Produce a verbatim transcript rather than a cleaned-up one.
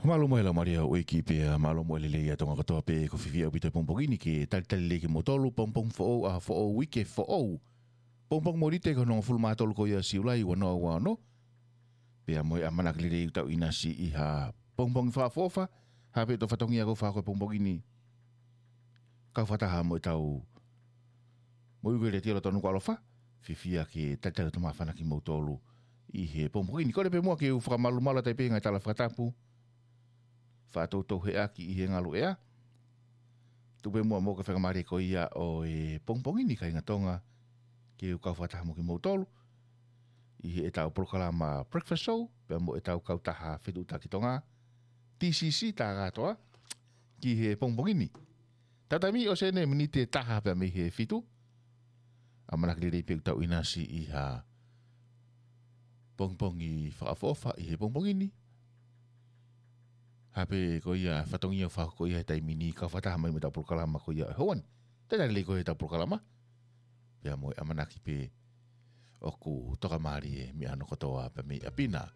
Mālō mo e lau malia ʻo e ʻEiki pea mālō mo e lelei ʻa Tonga kotoa pē. ʻOku ou fiefia ʻaupito he pongipongi ni ke talitali lelei kimoutolu, pongipongi foʻou, ʻaho foʻou, uike foʻou. Pongipongi Mōnite ko hono hongofulu mā tolu ko ia ʻo Siulai ua noa ua ono. Pea mo e ʻamanaki lelei ʻoku tau ʻinasi ʻi ha pongipongi fakaʻofoʻofa, hā pē ʻetau fatongia ʻoku fakahoko he pongipongi ni. Kau fakataha mo ʻetau moʻui ko e letiō lotonu ko ʻAlofa, fiefia ke talitali atu māfana kimoutolu ʻi he pongipongi ni. Kole pē muʻa ke u fakamālō atu pē he ngaahi tala fakatapu, faʻa toutou heʻaki ʻi he ngaluʻea. Tuku pē muʻa mo e faingamālie ko ia ʻo e pongipongi ni kāinga Tonga, ke u kau fakataha mo kimoutolu ʻi heʻetau polokalama Breakfast Show, pea mo ʻetau kautaha Fetuʻutaki Tonga, T C C, tā kātoa, ki he pongipongi ni. Tau taimi ʻosi eni miniti ʻe taha pea mei he fitu. ʻAmanaki lelei pē ʻoku tau ʻinasi ʻi ha pongipongi fakaʻofoʻofa ʻi he pongipongi ni. Hā pē ko ia fatongia ʻoku fakahoko ia he taimi ni, kau fakataha mai mo ʻetau polokalama ko ia ʻo e houa ni. Talitali lelei ko ia ʻetau polokalama. Pea mo e ʻamanaki pē ʻoku tokamālie e meʻa hono kotoa pē mei ʻapi na.